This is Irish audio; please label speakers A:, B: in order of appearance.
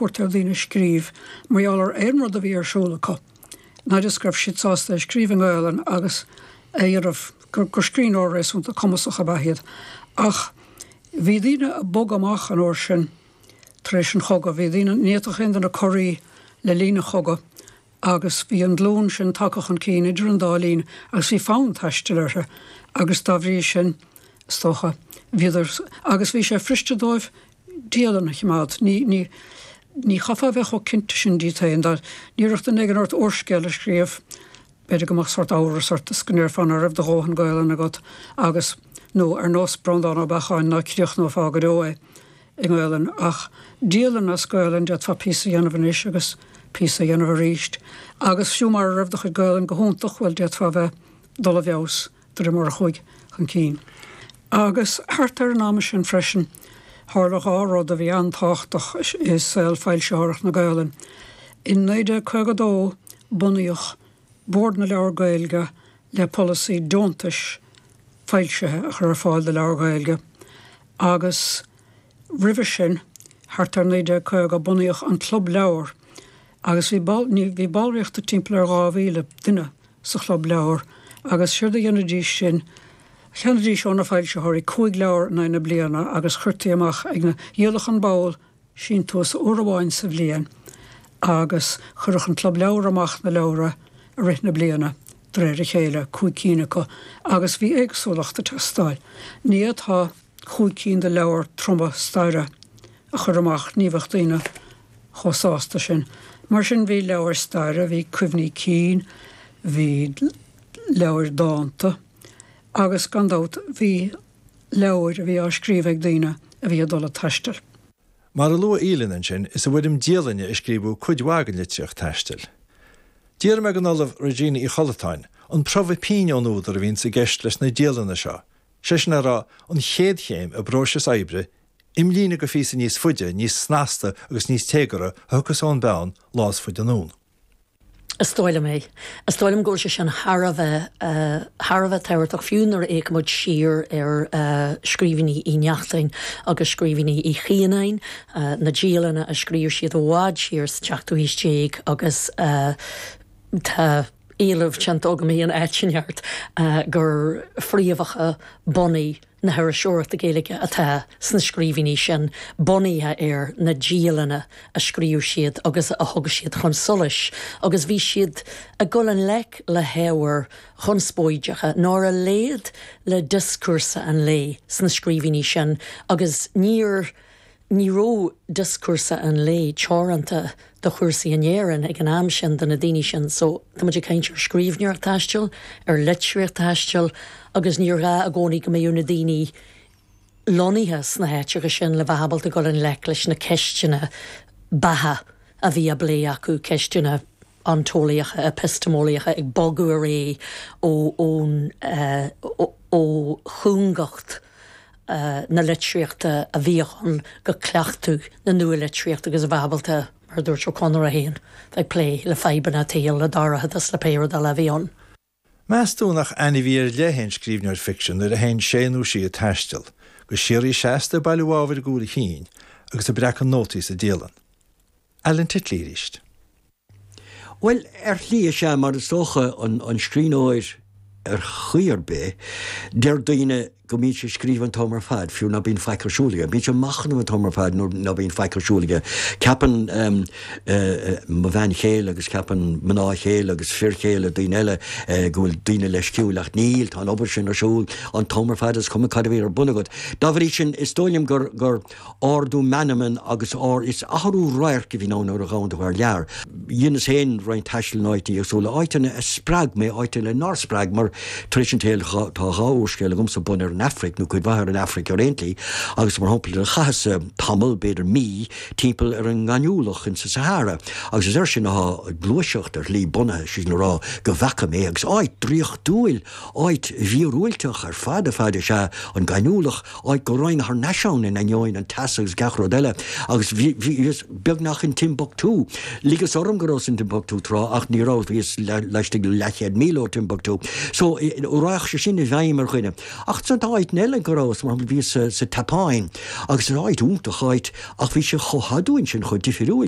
A: thabhairt ar dhaoine scríobh mar gheall ar aon rud a bhí ar siúl acu, an fhaid is go raibh siad sásta é a scríobh i nGaelainn agus a dhéanamh gur scríbhneoir réasúnta cumasach ab ea iad. Ach bhí daoine ag bogadh amach an uair sin tar éis an chogaidh, bhí daoine, ní fhéadfadh aon duine corraí le linn an chogaidh agus bhí an glúin sin tagtha chun cinn idir an dá linn agus bhí fonn taistil orthu agus dá bhrí sin, is dócha, bhíodar, agus bhí sé fuiriste dóibh dialann a choimeád. Ní, ní, ní chaithfeá a bheith chomh cinnte sin díot féin. Dá n-iarrfadh duine éigin ort úrscéal a scríobh, b'fhéidir go mbeadh sórt amhras ort is go ndéarfá ná raibh do dhóthain Gaelainne agat agus, nó ar nós Breandán Ó Beacháin, ná críochnófá go deo é i nGaelainn. Ach dialann as Gaelainn, d'fhéadfá píosa a dhéanamh anois agus píosa a dhéanamh arís. Agus fiú mara raibh do chuid Gaelainne go hiontach, bhuel, d'fhéadfá a bheith dul i bhfeabhas de réir mar a chuaigh chun cinn. Agus thart ar an am sin freisin, tharla 2 rud a bhí an-tábhachtach i saol foilsitheoireacht na Gaelainne. In 1952 bunaíodh Bord na Leabhar Gaeilge le polasaí deontais foilsithe a chur ar fáil do leabhair Ghaeilge agus roimhe sin, thart ar 1950, bunaíodh an Club Leabhar agus bhí bhí ballraíocht de timpeall ar 2,000 duine sa Chlub Leabhar agus séard a dhéanaidís sin, cheannaidís ó na foilsitheoirí 5 leabhar in aghaidh na bliana agus chuirtí amach ag na, dhíoladh an ball síntiús uair amháin sa bhliain agus chuireadh an Club Leabhar amach na leabhra i rith na bliana de réir a chéile, 5 cinn acu, agus bhí éagsúlacht ag teastáil. Ní fhéadfá 5 cinn de leabhair troma staire a chur amach, ní bheadh daoine chomh sásta sin. Mar sin bhí leabhair staire, bhí cuimhní cinn, bhí leabhair dánta agus gan dabht bhí leabhair a bhí á scríobh ag daoine a bhí ag dul ag taisteal.
B: Mar a luaigh Aoileann ansin, is i bhfoirm dialainne a scríobhadh cuid mhaith den litríocht taistil. D'iarr mé den Ollamh Regina Uí Chollatáin an promhadh pinn ón údar a bhíonns i gceist leis na dialanna seo, sé sin le rá, an chéad chéim i bpróiseas oibre, imlíne go phíosa níos faide, níos snasta agus níos téagartha a thiocfas ón bpeann lá is faide anonn.
C: Is dóigh liom é. Is dóigh liom go bhfuil sé sin thar a bheith, thar a bheith tábhachtach, fiú nuair a fhéachann muid siar ar scríbhinní Uí Neachtain agus scríbhinní Uí Chianáin, na dialanna a scríobh siad i bhfad siar sa tseachtú haois déag agus tá éileamh déanta agam in áit inteacht gur fréamhacha bunaidh na hiriseoireachta Gaeilge atá sna scríbhinní sin, bunaithe ar na dialanna a scríobh siad agus a thug siad chun solais, agus bhí siad ag dul i ngleic le hábhair chonspóideacha nár léad le dioscúrsa an lae sna scríbhinní sin agus níor Ní raibh dioscúrsa an lae teoranta do chúrsaí in Éirinn ag an am sin do na daoine sin so tá muid ag caint ar scríbhneoireacht taistil, ar litríocht taistil agus níor ghá i gcónaí go mbeadh na daoine lonnaithe sna háiteacha sin le bheith ábalta dul i ngleic leis na ceisteanna beatha a bhí á bplé acu, ceisteanna ontólaíocha, eipisteameolaíocha ag bogadh ar aghaidh ó ón ó chúngacht. na litríochta a bhíodh ann go cleachtadh na nua-litríochta agus a bheith ábalta, mar a dúirt Ó Conaire féin, bheith ag plé le fadhbanna an tsaoil, le dorchadas, le pé rud eile a bhí ann.
B: Meas tú nach ainmhí ar leith é an scríbhneoir ficsin nuair a théann sé nó sí ag taisteal, go síoraí seasta ag bailiú ábhair i gcúl a chinn agus ag breacadh nótaí sa dialann? Alan Titley arís.
D: Bhuel, ar shlí is ea, mar is dócha an scríbhneoir ar chaoi ar bith, deir daoine go mbíonn sé ag scríobh an t-am ar fad, fiú ná bíonn faic ar siúl aige. Bíonn sé ag machnamh an t-am ar fad nuair ná bíonn faic ar siúl aige. Ceapann mo bhean chéile agus ceapann mná chéile agus fir chéile daoine eile go bhfuil daoine leisciúil ach níl, tá an obair sin ar siúl an t-am ar fad is cuma cad a bhí ar bun agat. Dá bhrí sin, is dóigh liom gur, gur, ardú meanman agus ár is athrú radhairc a bhíonn ann nuair a ghabhann tú thar lear. Dheineas féin roinnt taistil in áiteanna éagsúla, áiteanna a spreag mé, áiteanna nár spreag, mar tar éis an tsaoil tá 2 úrscéal agamsa bunaithe ar an Afraic, nó cuid mhaith ar an Afraic ar aon tslí, agus mar shampla chaitheas tamall, b'fhéidir mí, timpeall ar an ngaineamhlach insa Sahara, agus is air sin atá Gluaiseacht ar shlí bunaithe, sé sin le rá go bhfeaca mé, agus áit draíochtúil, áit mhíorúilteach ar fad ar fad is ea an gaineamhlach, áit go raghainn thar n-ais ann in ainneoin an teasa agus gach rud eile, agus bhí, bhíos beagnach in Timbuktu. Ligeas orm go rabhas in Timbuktu tráth ach ní rabhas, bhíos laistigh de leathchéad míle ó Timbuktu. So, raghadh sé sin i bhfeidhm ar dhuine. Ach ansan tá áiteanna eile go rabhas, mar shampla bhíos sa tSeapáin agus is áit iontach, áit, ach bhí sé chomh haduain sin, chomh difiriúil.